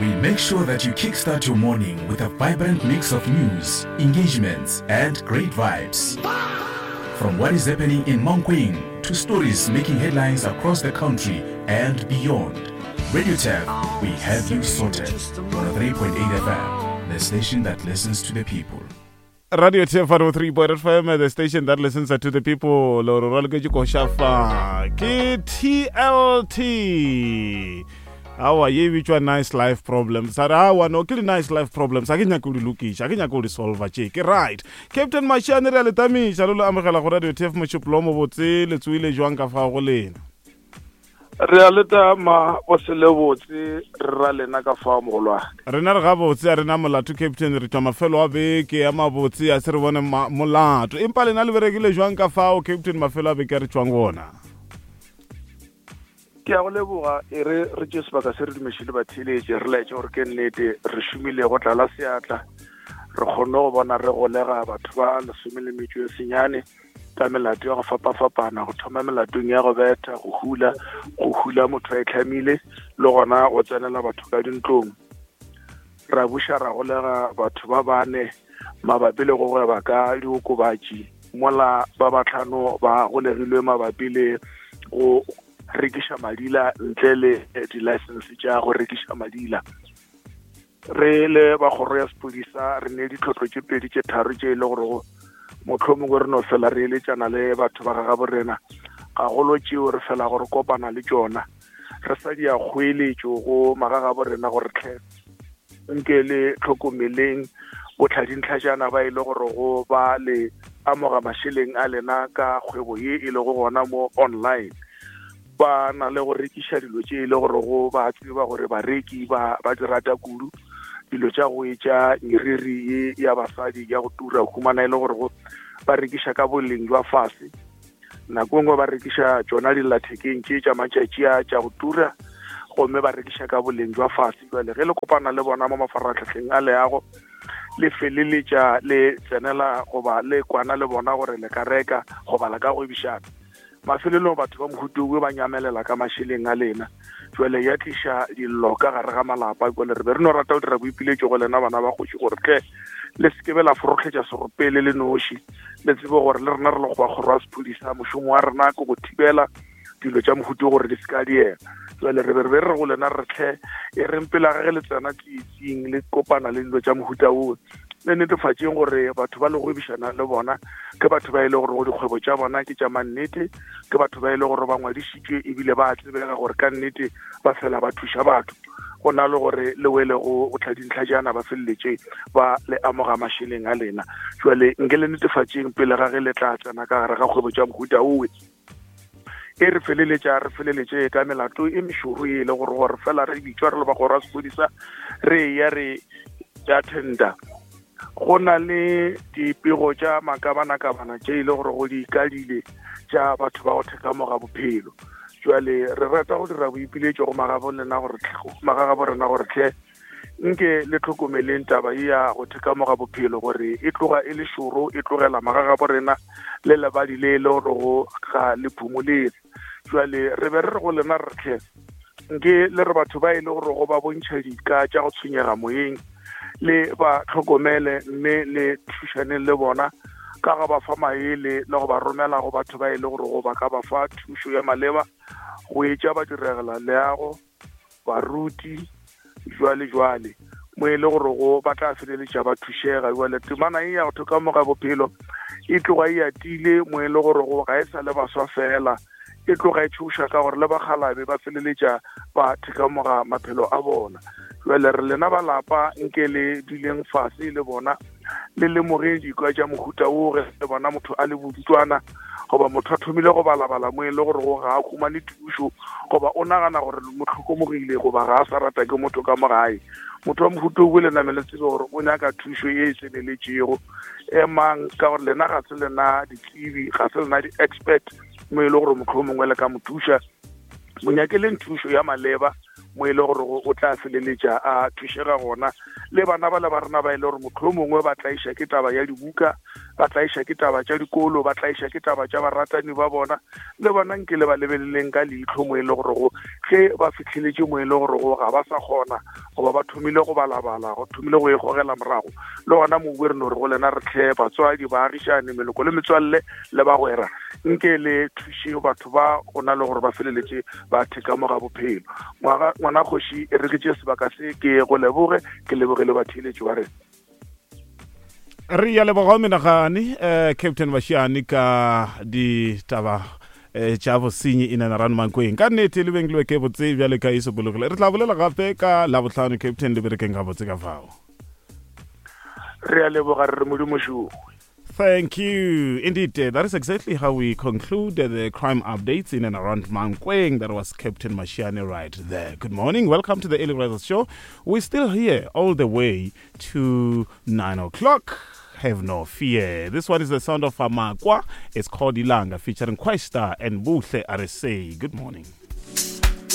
We make sure that you kickstart your morning with a vibrant mix of news, engagements, and great vibes. From what is happening in Mankweng to stories making headlines across the country and beyond. Radio Tap, we have you sorted. 103.8 FM, the station that listens to the people. Radio TF 103.8 FM, the station that listens to the people. Lo re raloketše koša fa ke TLT. Awa ye e bitšwa nice life problems. A re awa no ke di nice life problems. A ke nyake go di lokiša, a ke nyake go di solva tše. Ke right. Captain Mashiane re a le tamiša le lo amogela go Radio TF mošupolo mo botse le tsoile jwang ka fao go lena. Re a le tama go se le botse re ra lena ka fao mogolwane. Rena re gabotse a rena molato Captain re tšwa mafelo a beke a mabotse a se re bone molato empa lena le berekile jwang ka fao Captain mafelo a beke a re tšwang gona. Ke a go leboga e re re tše sebaka se re dumeše le batheeletše re laetše gore ke nnete re šomile go tlala seatla re kgonne go bona re golega batho ba lesome le metšo e senyane ka melato ya go fapafapana go thoma melatong ya go betha go hula go hula motho a itlhamile le gona go tsenela batho ka dintlong ra buša ra golega batho ba bane mabapi le go gweba ka diokobatši mola ba batlhano ba golegilwe mabapi le go rekiša madila ntle le di-license tša go rekiša madila re le ba kgoro ya sepodisa re ne ditlhotlo tše pedi tše tharo tše e le gore mohlomongwe re no fela re eletšana le batho ba gagabo rena gagolo tšeo re fela gore kopana le tšona re sa di ya kgoeletšo go magagabo rena gore tlhe nke le tlhokomeleng botlhadintlhajana ba e le gore go ba le amoga mašeleng a lena ka kgwebo ye e lego gona mo online ba na le go rekiša dilo tše e le gore go ba tseba gore bareki ba ba di rata kudu dilo tša go etša meriri ye ya basadi ya go tura humana e le gore go ba rekiša ka boleng jwa fase nako e nngwe ba rekiša tšona dillathekeng tše tša matšatši a tša go tura gomme ba rekiša ka boleng jwa fase jale ge le kopana le bona mo mafaratlhatlheng a leago le feleletša le tsenela goba le kwana le bona gore le ka reka goba le ka gwebišana Mafelelong batho ba mohuta owe ba nyamelela ka mašeleng a lena. Jwale ya tliša dillo ka gare ga malapa. Jwale re be re no rata go dira boipiletšo go lena bana ba kgoši gore tle le se ke be la forohletša serope le le noši. Le tsebe gore le rena re le go ba kgoro ya sephodisa, mošomo wa rena ke go thibela dilo tša mohuta gore di se ka diela. Jwale re be re be re go lena re tle e reng pele ga ge le tsena tsietsing le kopana le dilo tša mohuta owe le netefatšeng gore batho ba le gwebišana le bona ke batho ba e le gore go dikgwebo tša bona ke tša mannete ke batho ba e le gore ba ngwadišitšwe ebile ba tsebega gore ka nnete ba fela ba thuša batho go na le gore le wele go go tlhadintlha jaana ba feleletše ba le amoga mašeleng a lena jale nke le netefatšeng pele ga ge le tla tsena ka gare ga kgwebo tša mohuta owe e re feleletša re feleletše ka melato e mešoro e le gore gore fela re bitšwa re le ba kgoro ya sepodisa re ya re attenda go na le dipego tša makabanakabana tše e le gore go di ikadile tša batho ba go thekamoga bophelo jale re rata go dira boipiletšo go magabo rena gore tlhe nke le tlhokomeleng taba ye ya go thekamoga bophelo gore e tloga e le šoro e tlogela magagabo rena le lebadi le e le gorego ga le phumolele jale re be re re go lena re tlhe nke le re batho ba e le gore go ba bontšha dika tša go tshwenyega moyeng le ba tlhokomele mme le thušaneng le bona ka ga ba fa maele le go ba romela go batho ba e le gore go ba ka ba fa thušo ya maleba go etša ba diregela leago baruti jwale jwale mo e le gore go ba tla feleletša ba thušega jwale temana e ya go thokamoga bophelo e tloga e atile mo e le gore go ga e sa le baswa fela e tloga e tšhoša ka gore le bakgalabe ba feleletša ba thekamoga maphelo a bona jwale re lena ba lapa nke le duleng fase le bona le lemoge dikwa tša mohuta wo ge le bona motho a le bodutwana goba motho a thomile go balabala mo e le gore go ga a humane thušo goba o nagana gore mo tlhokomogile goba ga a sa rata ke motho ka mo gae motho wa mohuta o le name le tsebe gore o nyaka thušo e e tseneletšego emang ka gore lena ga se lena ditsebi ga se lena di-expert mo e le gore motlho mongwe le ka mo thuša mo nyakeleng thušo ya maleba mo e le gore o tla feleletša a thušega gona le bana ba le ba rena ba e le gore motlho mongwe ba tlaiša ke taba ya dibuka Ba tlaiša ke taba tša dikolo, ba tlaiša ke taba tša baratani ba bona. Le bona nke le ba lebeleleng ka leihlo mo e le gorego ge ba fihleletše mo e le gorego ga ba sa kgona goba ba thomile go balabala, go thomile go ikgogela morago. Le gona mobu re no re go lena re tlhe batswadi, baagišani, meloko le metswalle le bagwera, nke le thuše batho ba go na le gore ba feleletše ba theka mo ga bophelo. Ngwaga ngwana kgoši e re ke tše sebaka se ke go leboge, ke leboge le batheeletši ba rena. Re ya leboga o menagane eh, Captain Bashiane ka ditaba eh, tša bosenyi in and around Mankweng. Ka nnete le beng le ke botse bjale ka e sokologile. Re tla bolela gape ka Labohlano Captain le berekeng gabotse ka fao. Re a leboga re re Modimo šoo. Thank you. Indeed, that is exactly how we conclude the crime updates in and around Mankweng. That was Captain Mashiane right there. Good morning. Welcome to the Early Risers Show. We're still here all the way to 9 o'clock. Have no fear. This one is the sound of Amakwa. It's called Ilanga featuring Questa and Buhle RSA. Good morning.